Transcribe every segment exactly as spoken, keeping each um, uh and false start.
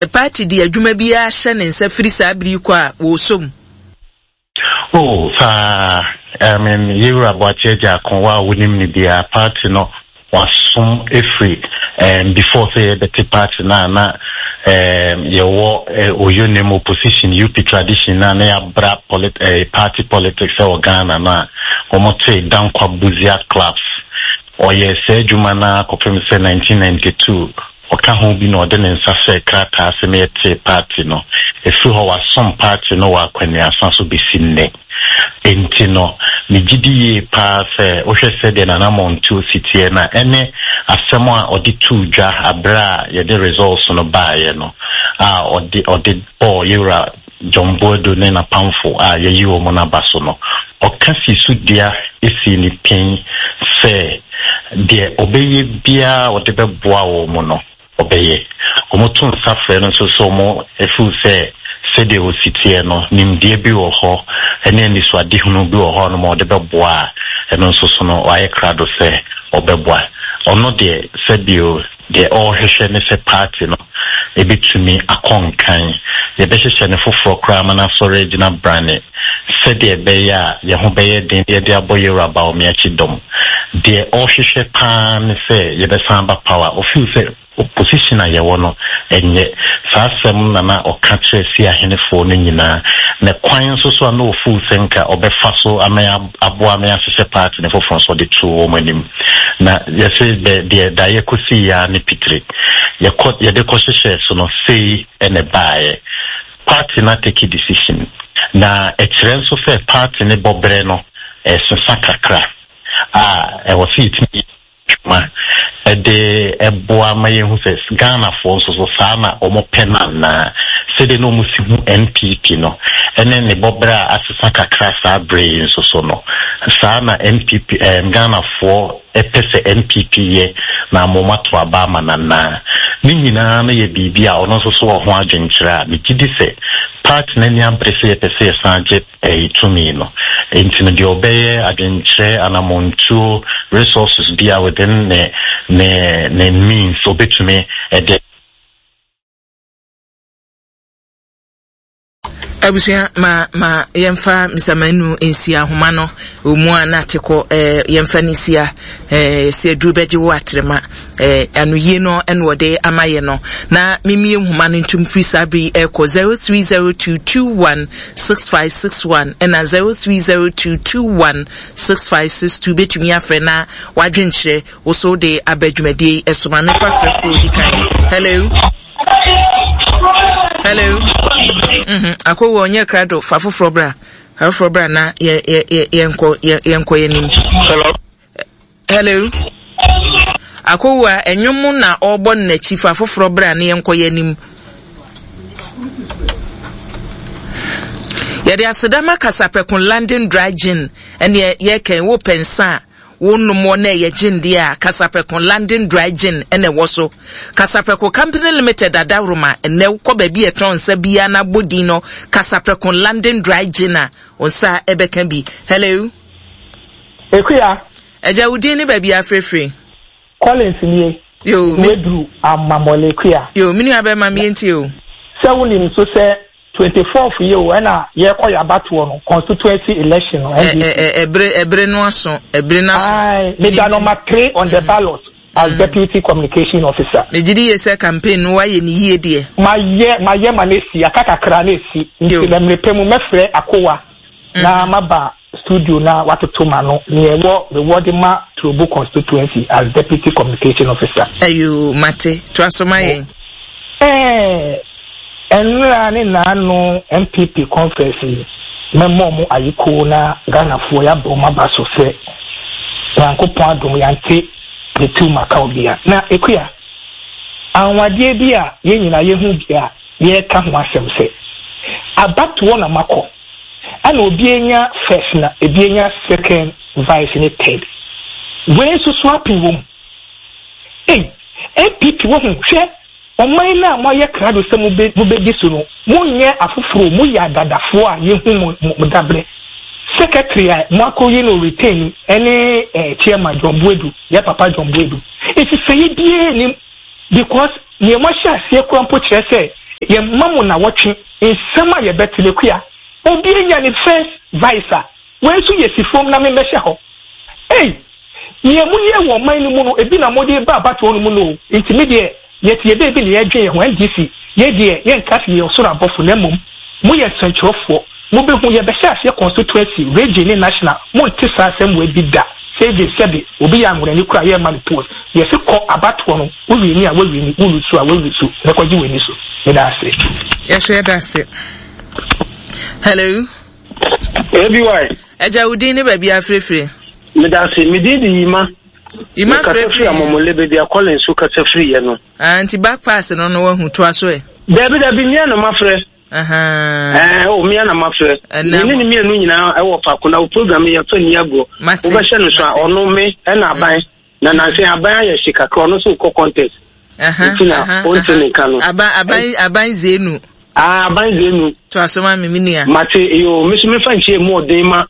Party de adwuma biara hyɛ ne nsa firi saa bere yi kɔ a wɔresɔ mu. Oh, saa. I mean, Yewura Boakye Agyarko wa a wonim no biara, party no wasom efiri um, before sɛ yɛbɛte party no a na um, yɛwɔ uh, Oyonem opposition U P tradition na na yɛabra polit uh, party politics ɛwɔ Ghana no a wɔte Dankwa Busia clubs. Ɔyɛ saa adwuma no akɔpem sɛ nineteen ninety-two ɔka ho bi na ɔde ne nsa hyɛ krataa sɛ yɛte party no. Ɛfiri hɔ wasom party no wɔ akwanuasa so bɛsi nnɛ. Enti no, megye di yie paa sɛ wohwɛ sɛdeɛ Nana Montuo si teɛ na ɛne asɛm a ɔde too dwa aberɛ a yɛde results no baeɛ no a ɔde ɔde bɔɔ Yewura John Boadu ne n'apamfo a yɛyi wɔn no aba so no, ɔka si so dua esi ne pin sɛ deɛ ɔbɛyɛ biara ɔde bɛboa wɔn no ɔbɛyɛ. Wɔn to nsa frɛ no nso so wɔn efu sɛ sɛdeɛ osi teɛ no nimdeɛ bi wɔ hɔ ɛne anisoadehunu bi wɔ hɔ nom a ɔde bɛboa a ɛno nso so no wayɛ krado sɛ ɔbɛboa. Ɔno deɛ sɛbio deɛ ɔrehwehwɛ ne sɛ party no ebetumi akɔ nkan. Yɛbɛhyehyɛ ne foforɔ koraa ama n'asɔre agyina brane sɛdeɛ ɛbɛyɛ a yɛn ho bɛyɛ den yɛde abɔ Yewura Bawumia akyi dɔm. Deɛ ɔrehwehwɛ paa ne sɛ yɛbɛsan aba power. Ofeel sɛ opposition a yɛwɔ no ɛnyɛ saa asɛm na na ɔka kyerɛ si ahenefoɔ no nyinaa na kwan nso so a na ofeel sɛ nka ɔbɛfa so ama aboa ama ahyehyɛ party ne foforɔ nso ɔde to wɔn anim. Na yɛsɛ deɛ deɛ da yɛkɔsi ya ne pitire yɛkɔ yɛde kɔhyehyɛ so no sei ɛna ɛbaeɛ. Party na take decision na ɛkyerɛ nso sɛ party ne bɔberɛ no ɛsesa kakra a ɛwɔ sɛ yɛtumi dwuma ɛde ɛboa ma yɛhu sɛ Ghanafoɔ nso so saa na wɔn pɛ no anaa sɛdeɛ na wɔn si hu N P P no ɛne ne bɔberɛ a asesa kakra saa berɛ yi nso so no saa na N P P ɛɛm Ghanafoɔ ɛpɛ sɛ N P P yɛ na wɔn ato aba ama nanaa ne nyinaa no yɛ biribi a ɔno nso so wɔ ho adwenkyerɛ a megye di sɛ party n'ani abere sɛ yɛpɛ sɛ yɛsan gye ɛyi tumi no. Enti no deɛ ɔbɛyɛ adwenkyerɛ anamontuo resources bi a within ne ne ne means obetumi ɛde. Abusua ma ma yɛmfa Mister Manu nsia ahoma no omu a na atekɔ eh, yɛmfa ne sia eh, sɛ aduru bɛgye wo atrema eh, anoyie no ɛna wɔde ama yɛ no na memie nhoma no ntom firi saa bere yi ɛkɔ zero three zero two two one six five six one ɛna zero three zero two two one six five six two betumi afrɛ na wadwenkyerɛ wo so de aba dwumadie yi ɛso. Ma mefa frɛfoɔ di kan. Hello. Hello. Mhm. Akowo onye krado fa foforɔ bra. Foforɔ bra na yɛ yɛ yɛ yɛnkɔ yɛ yɛnkɔ yɛnim. Hello. Hello. Akowo a enwom na ɔbɔ n'akyi fa foforɔ bra na yɛnkɔ yɛnim. Yɛde asedama Kasaprɛko London Dry Gin ɛne yɛkɛn wo pɛnsa wo nom wɔ na ɛyɛ gin deɛ a Kasaprɛko London Dry Gin ɛna ɛwɔ so. Kasaprɛko Company Limited adaworoma ɛnɛ kɔ baabi a ɛtɔn nsa biara na abɔ din no Kasaprɛko London Dry Gin a nsa ɛbɛka bi. Hello. Ekuya. Ɛgya wo din ne baabi afrɛfrɛ. Collins nie. Yo. Weduru amamɔle Ekuya. Yo, me nua bɛma me ntie o. Sɛ wonim so sɛ twenty-fourth year o ɛna yɛkɔ yabatoɔ no constituency election no. Ɛ ɛ ɛbere ɛbere no aso ɛbere no aso. Ayi meda number three on the ballot as mm. deputy communication officer. Megye di yie sɛ campaign no wayɛ ne yie deɛ. Ma yɛ ma yɛ ma ne si aka kakra ne si nti na mmerepɛ mu mɛfrɛ akowa na maba studio na watoto ma no nea ɛwɔ mewɔ de ma Trobu constituency as deputy communication officer. Ayo mate to aso ma yɛn. Ɛɛ. Nnra ne naano N P P conference yi mɛmmɔ mo ayiko na Ghanafoɔ yɛabɔ mo aba so sɛ Nyankopɔn adom yɛante ne tu maka obia. Na Ekuya, anwadeɛ bi a yɛn nyinaa yɛhu bi a yɛreka ho asɛm sɛ abatoɔ na makɔ ɛna obi anya first na ebi anya second vice ne third. Wei nso so apem wɔ mu. Ei, N P P wɔ ho hwɛ ɔman na moayɛ krado sɛ mobɛdi so no, monyɛ afoforo, moyɛ adadafoɔ a yɛhu mo mo dabrɛ. Secretary a moakɔyi no retain ɛne eh, chairman John Boadu, yɛ papa John Boadu. Nsesɛeɛ biara nnim because nea moahyɛ aseɛ kora mpo kyerɛ sɛ Yɛmma mo nnawɔtwe nsɛm a yɛbɛte no. Akua, obi anya ne first vice a, wei nso yɛ si fam na memmɛhyɛ hɔ. Ei! Nea moyɛɛ wɔ ɔman no mu no, ebi na mode reba abatoɔ no mu no o. Nti me deɛ, yɛte yɛn baabi na yɛredwen yɛn ho. N D C, yei deɛ, yɛnka sɛ yɛyɛ ɔsoro abɔfo, na mmom moyɛ nsɛnkyerɛwfoɔ. Mobɛhu, yɛbɛhyɛ aseɛ constituency, region ne national, monte saa asɛm wei bi da. Sɛ even sɛbe obi yɛ anworani koraa a, yɛremma no post. Yɛse kɔ abatoɔ no, wo wini a, woawini, wo lusu a, woalusu, na kɔgye w'ani so. Meda ase. Yɛso yɛda ase. Hello. A B Y. Agya, wo din ne baabi afirefire? Meda ase. Me din de Yima. Yima. Mekasa firi Amɔmɔle, baabi a Collins so kasa firi yɛ no. Ah, nti back pass no no wahu toa so ɛ. Dabi dabi, mmea na mafrɛ. Ɛɛ o, mmea na mafrɛ. Me ne ne mmienu nyinaa ɛwɔ faako na o program yɛ fɛ ni agorɔ. Wobɛhyɛ no so a, ɔno me ɛna aban. Na nansi aban ayɛ hye kakra, ɔno nso kɔ contest. Nti na ɔnte ne nka no. Aban aban aban zenu. Ah, aban zenu. To aso ma me, me nua. Mate yo, me so mefa nkyɛn mu ɔden ma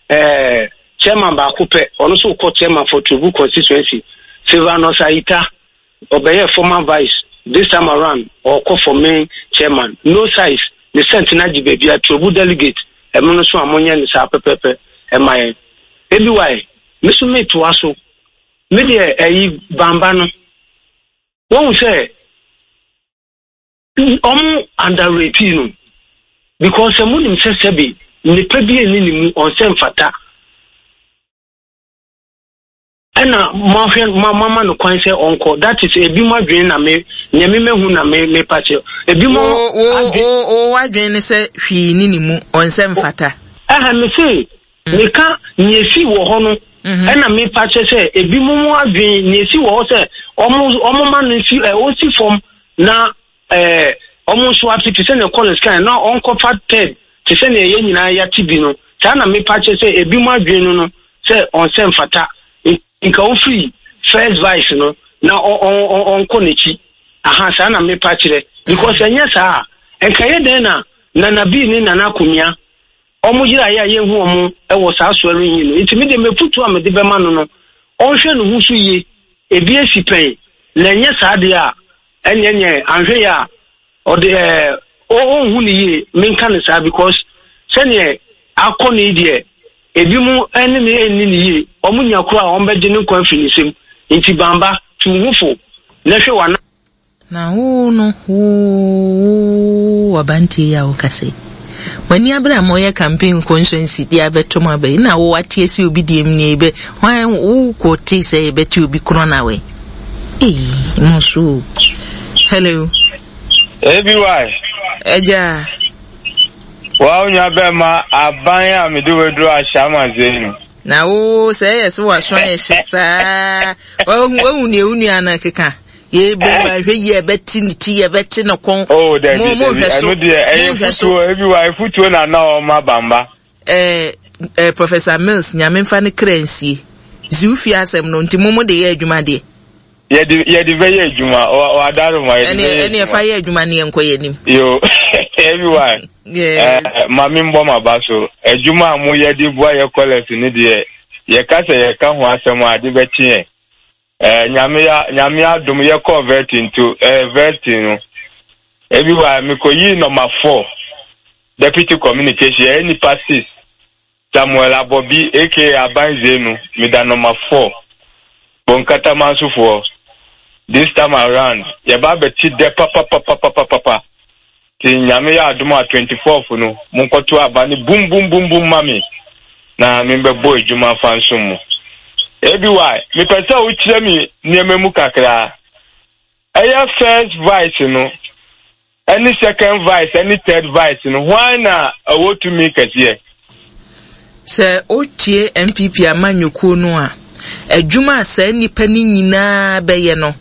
ɛɛ chairman baako pɛ, ɔno nso kɔ chairman for Trobu constituency. Silvanus Ayita, ɔbɛyɛ former vice, this time around ɔkɔ for main chairman. No size, ne cent na gye baabi a Trobu delegate ɛmo no so a monyɛ ne saa pɛpɛpɛ ɛma yɛn. Ebi wae, me so metoa so. Me deɛ, ɛyi bamba no, wɔn sɛ ɔmo underrate no because sɛ mo nim sɛ sɛbi nipa bi ɛni ne mu ɔnsɛ mfata, ɛna mo ahwɛ mo ama no kwan sɛ ɔnkɔ. That is ebi mo adwene na me nea me mehu na me me pa kyerɛ ebi mo. Wo wo wo adwene ne sɛ hwee ni ne mu, ɔnsɛ mfata? Ɛhɛn, me se meka nea esi wɔ hɔ no, ɛna me pa kyerɛ sɛ ebi mo mo adwene nea esi wɔ hɔ sɛ ɔmo ɔmo ma no si ɛ ɔsi fam na ɛɛ ɔmo nso ate te sɛ nea Collins kan na ɔnkɔfa third te sɛ nea yɛn nyinaa yɛate bi no. Saa na mepa kyerɛ sɛ ebi mo adwene no no sɛ ɔnsɛ mfata, nka ofiri first vice no na ɔnkɔ n'akyi. Aha, saa na mepa kyerɛ because ɛnyɛ saa a, nka yɛ dɛn na Nana Bii ne Nana Akomia ɔmo yeraeɛ a yɛnhu ɔmo wɔ saa swearing in no? Nti me deɛ, mefutuo a mede bɛma no no, ɔnhwɛ ne ho so yie. Ebi esi pɛn na ɛnyɛ saa deɛ a, ɛnyɛ nyɛ anhwɛ yɛ a ɔde ɛɛ ɔnhu ne yie. Menka ne saa because sɛneɛ akɔ ne yi deɛ, ebi mu ɛne ne ɛnni ne yie. Ɔmo nya koro a ɔmo bɛgye ne nkwa afiri ne nsam. Nti bamba, tu wo ho fo na hwɛ w'ana. Na wo no, wo wo abantie yi a wokasa yi, w'ani abere a moyɛ campaign constituency de abɛto mu aba yi, na wo ate asi obi deɛ mu nie bɛ hwan wo kɔ te sɛ yɛbɛte obi korɔ na wɛ. Ei, mo so. Hello. A B Y. Agya. Wa onua bɛma aban a mede waduru ahyɛ ama zenu. Na wo sɛ ɛyɛ sɛ waso ayɛ hye saa, wahu wahu nea wo nua no keka. Yɛbɛ ahwɛ yi, ɛbɛte ne ti, ɛbɛte ne kɔn. Oh, dabi dabi, ɛno deɛ ɛyɛ futuo ebi wa efutuo na na ɔma bamba. Ɛɛ ɛɛ Professor Mills, Nyame nfa ne kra nsie. Ziw fi asɛm no nti mo mo de yɛ adwuma deɛ. Yɛde yɛde bɛyɛ adwuma, wadaro ma yɛde bɛyɛ adwuma. Ɛne ɛfa yɛ adwuma ne yɛn nkɔ yɛn anim. Yo, ebi wa. Yes. Ɛɛ maame, mbɔ ma ba so adwuma a mo yɛ de boa yɛ kɔlɛs ne deɛ, yɛka sɛ yɛka ho asɛm a, ade bɛkye yɛn. Ɛɛ nyame ya Nyame adom, yɛkɔɔ vetting to ɛɛ vetting no, ebi wa mekɔyii number four, deputy communication. Yɛyɛ nipa six. Samuel Abɔbi A K A Aban Zenu, meda number four. Bonkatamansofoɔ, this time around yɛba abɛte dɛ papapapapapa. Nti Nyame yɛ adom a, twenty fourth no monkɔto aba no bum bum bum bum ma me na membɛbɔ adwuma fa nsom mu. Aby, mepɛ sɛ wokyerɛ me nneɛma mu kakraa. Ɛyɛ first vice no ɛne second vice ɛne third vice no, hwan na ɛwɔ tumi kɛseɛ? Sɛ wotie N P P amanyɔkuo no a, adwuma a saa nnipa no nyinaa bɛyɛ no,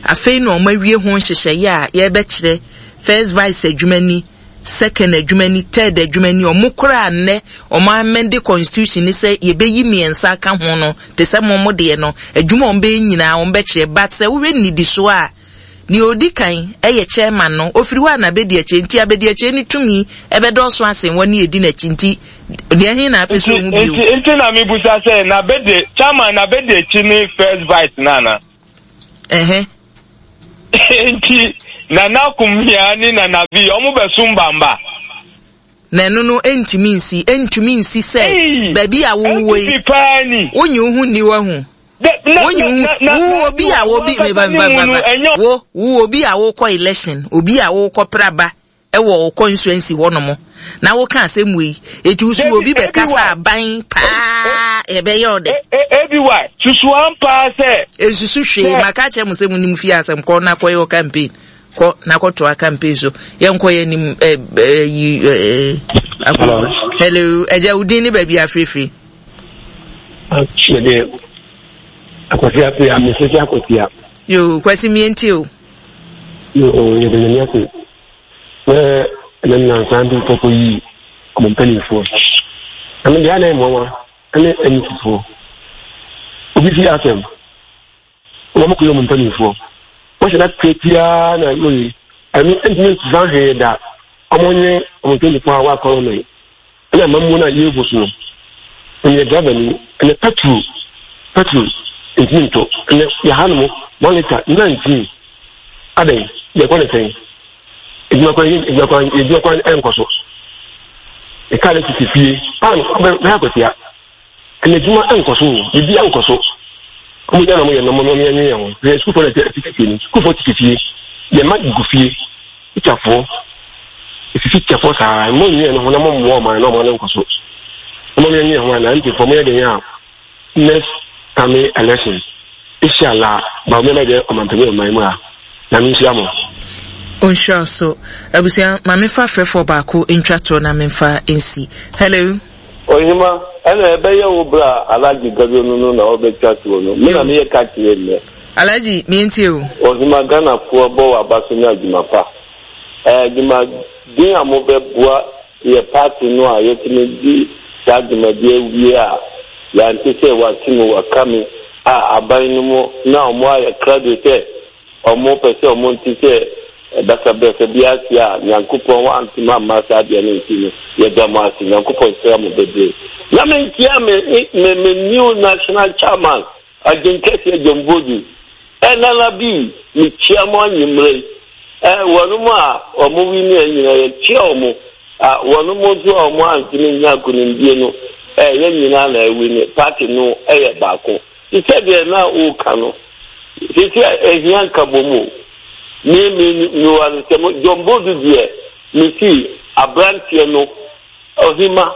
afei na wɔn awie ho nhyehyɛeɛ a yɛrebɛkyerɛ. First vice adwuma ni, second adwuma ni, third adwuma ni. Wɔn koraa nnɛ wɔn amend constitution ni sɛ yɛbɛyi mmiɛnsa aka ho no, te sɛ mo mo deɛ no, adwuma a wɔn bɛyɛ nyinaa wɔn bɛkyerɛ. But sɛ wohwɛ nnidisoɔ a, nea odi kan yɛ chairman no, ofiri hɔ a na abɛdi akyire, nti abɛdi akyire no tumi ɛbɛdɔɔso asen wɔn ne edi n'akyi. Nti deɛ he na apɛ sɛ ohun bio? Nti nti na mibusa sɛ n'abɛdi chairman n'abɛdi akyi ne first vice nana. Ɛhɛ. Nti Nana Kumia ne Nana B, ɔmo bɛsom bamba. Na ɛno no ɛntumi nsi, ɛntumi nsi sɛ baabi a wowɔ yi, N P P paa ni. Wonyi wo ho nni wahu. Wonyi wo ho, wo obi a wobi, meba, meba, meba, wo, wo obi a wokɔ election, obi a wokɔ praba, ɛwɔ wo constituency hɔ nom, na woka asɛm wei, eti so obi bɛkasa aban paa, ɛbɛyɛ ɔdɛ. Ebi wa, susu ampa sɛ. Ensusu hwee, maka kyerɛ mo sɛ mo nim fie asɛm, kɔ na kɔyɛ wo campaign. Kɔ na kɔtoa campaign so. Yɛnkɔ yɛn nim ɛ ɛ yi ɛ akɔba. Hello, ɛgya wo din ne baabi afirifiri. Mede Akwasi Appiah, mesese Akwatia. Yo, Kwasi mientie o. Yo, yɛde nyame ase. Sɛ ɛnɛ nnansa bi kɔkɔ yi ɔmo mpanimfoɔ. Na me deɛ ana mmoawa ne anisifoɔ. Obi fi asɛm. Wɔn kɔ yɛ ɔmo mpanimfoɔ. Wɔhyɛ da tiatia na wɔyi. Ɛno ntumi nsesa hwee da. Ɔmo nye ɔmo mpanimfoɔ a wɔakɔrɔ no. Ɛna amammuo no a yɛrebu so no, ɛnyɛ driver ni, ɛnɛ petrol, petrol ntumi ntɔ. Ɛnɛ yɛha no mo one litre nineteen. Adɛn, yɛkɔ ne sɛn? Edwuma kwan, edwuma kwan, edwuma kwan ɛnkɔ so. Ɛka ne sisi fie, pan bɛyɛ akwatia. Ɛnɛ adwuma ɛnkɔ so, biribi ɛnkɔ so. Ɔmo gya na ɔmo yɛ no, ɔmo yɛ yɛn ho. Hwɛ sukuufoɔ na ɛte fie no, sukuufoɔ tete fie, yɛn mma gu fie. Tikyafoɔ, esisi tikyafoɔ saa, mo nyɛ no ho na mo mmoa ɔman na ɔman no nkɔ so. Mo nyɛ nyɛ ho a na mpanyinfoɔ mo yɛ den a next coming election inshallah ba mo bɛyɛ ɔmanpanyin ɔman mu a na me nhyira mo. Onhyira so. Abusua, ma mefa frɛfoɔ baako ntwa toɔ na memfa nsi. Hello. Ohima, ɛna ɛbɛyɛ wo berɛ a Alhaji Gado no no na ɔbɛtwa toɔ no. Me na meyɛ ka kyerɛ nnɛ. Alhaji, mientie o. Ohima, Ghanafoɔ bɔ w'aba so ne adwuma pa. Ɛɛ adwumaden a mobɛboa yɛ party no a yɛtumi di saa dwumadie awie a yɛante sɛ wate mu waka me a aban no mu na wɔn ayɛ krado sɛ Ɔmo pɛ sɛ ɔmo nte sɛ basabasa bi ase a Nyankopɔn antumi amma saa adeɛ no nti no, yɛda mo ase. Nyankopɔn nhyira mo bebree. Na me nkyia me me me new national chairman Agyenkɛseɛ John Boadu ɛ Nana B me kyia mo anwummerɛ yi ɛ wɔnom a ɔmo wini ɛ nyina yɛ kyia ɔmo a wɔnom nso a ɔmo antumi nnya nkonimdie no ɛ yɛ nyina na ɛwini party no ɛyɛ baako. Te sɛ deɛ na woka no, seesei a ɛhia nkabom o. Me, me, mewɔ aresɛm, John Boadu deɛ, mese aberanteɛ no, ɔhema,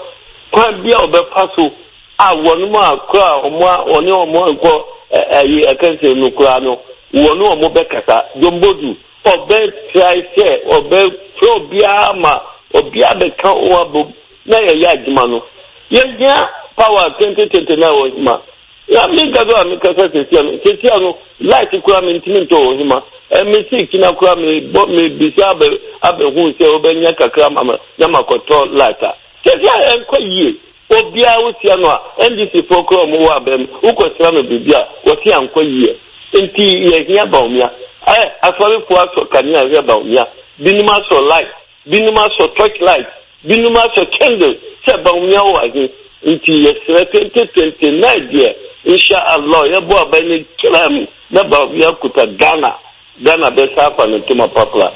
kwan bi a ɔbɛfa so a wɔnom a koraa wɔn a wɔne wɔn nkɔ ɛyi ɛkɛnsɛn no koraa no, wɔne wɔn bɛkasa. John Boadu, ɔbɛ try sɛ ɔbɛfrɛ obiara ma obiara bɛka wɔn abom na yɛyɛ adwuma no. Yɛhia power twenty twenty nine ɔhema. Na me nkasa a mekasa sesia no, sesia no light koraa mentumi ntɔ ɔhema. Ɛ me se kyina koraa mebɔ mebisa abɛ abɛhu sɛ wobɛnya kakra ama me na makɔtɔ light a. Sesia ɛnkɔ yie. Obiara wosia no a, N D C foɔ koraa ɔmo wɔ abɛn no, wokɔsra no biribi a, wɔse ankɔ yie. Nti yɛhia Bawumia. Ɛ asɔrefoɔ asɔ kanea hwɛ Bawumia. Binom asɔ light. Binom asɔ torch light, binom asɔ candle sɛ Bawumia wɔ he? Nti yɛsrɛ twenty twenty nine deɛ Insha Allah yɛbɔ aban no kyerɛm na Bawumia kuta Ghana, Ghana bɛsa afa ne ntoma papra.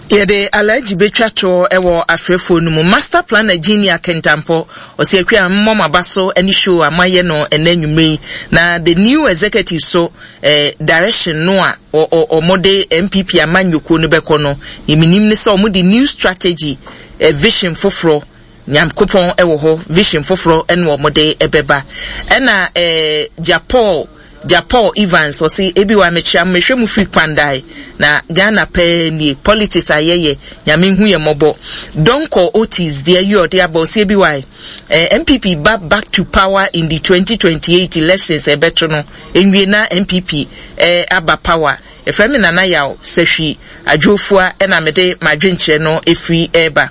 Yɛde Alhaji bɛtwa toɔ wɔ afrɛfoɔ no mu. Master Planner Junior Kentampɔ, ɔse Akua mmɔ m'aba so ne show a moayɛ no ɛnɛ anwummerɛ yi. Na the new executive so eh, direction no a wɔde N P P amanyɔkuo no bɛkɔ no, deɛ menim ne sɛ wɔde new strategy, eh, vision foforɔ, Nyankopɔn wɔ hɔ, vision foforɔ ɛna wɔde ɛbɛba. Ɛna eh, Japol, Japol Evans, ɔse, ebi wa mekyia mehwɛ mu firi Kwandae, na Ghana pɛɛ nie, politics ayɛyɛ, Nyame hu yɛ mmɔbɔ. Donkor Otis, deɛ yi ɔde aba, ɔse ebi wa, eh, N P P ba back to power in the twenty twenty-eight elections ɛbɛto no, Nwie na N P P eh, aba power. Yɛfrɛ me Nana Yaw Sahwi Adwofua ɛna mede m'adwenkyerɛ no ɛfiri ɛreba.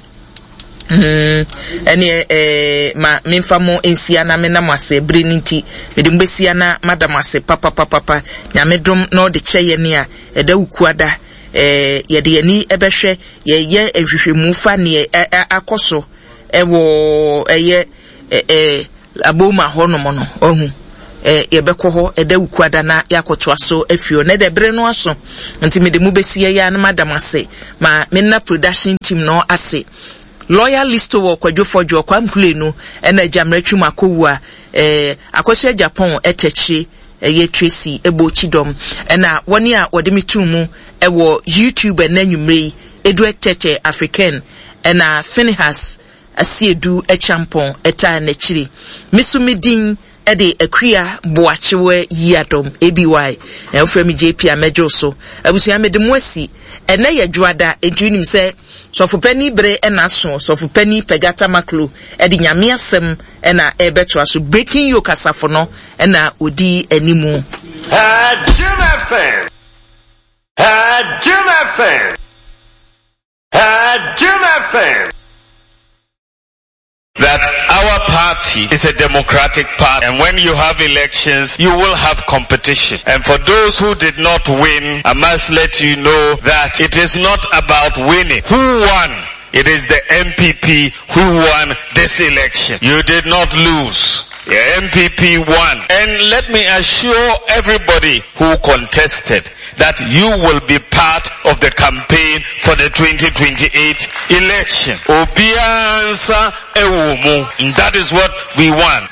Mm, ɛneɛ eh, ma memfa mo nsia na mena mo ase bere no nti mede mo bɛsia na mada mo ase papapapapa. Nyame dom na ɔde kyɛ yɛne a ɛda wukuada eh, yɛde yɛni ɛbɛhwɛ yɛyɛ nhwehwɛmu fa neɛ akɔ so ɛwɔ ɛyɛ eh, eh, Aboma hɔnom no, wahu. eh, yɛbɛkɔ hɔ ɛda Wukuada na yɛakɔtoa so afiri hɔ. Na ɛdɛ bere no aso nti mede mo bɛsi ɛyɛ a na mada mo ase ma menna production team no ase. Lawyer Listo wɔ Kwadwo Fɔdwo, Kwame Kulenu ɛna Agyammerɛ Twum Akɔwu a eh, Akɔso Agyapɔn ɛtɛkyire ɛyɛ Tracy ɛbɔ Kyidɔm ɛna wɔne a wɔde me too mu ɛwɔ YouTube ɛna anwummerɛ yi Edward Tɛtɛ African ɛna Finehas Asiedu Akyampɔn ɛtaa n'akyire. Me so me din ɛde Akua Boakyewa Yiadom A B Y na wofrɛ me J P a mɛgye so. Abusua, mede mo asi. Ɛnɛ yɛ dwoada, enti wonim sɛ sɔfopani bere ɛna aso. Sɔfopani Pɛgata Maklo ɛde Nyame asɛm ɛna ɛbɛtoa so. Breaking Yoke asafo no ɛna odi animu. Jim F M. Jim F M. Jim F M. That our party is a democratic party, and when you have elections, you will have competition. And for those who did not win, I must let you know that it is not about winning. Who won? It is the N P P who won this election. You did not lose. The N P P won. And let me assure everybody who contested that you will be part of the campaign for the twenty twenty-eight election. Obiara nsa ɛwɔ mu. And that is what we want.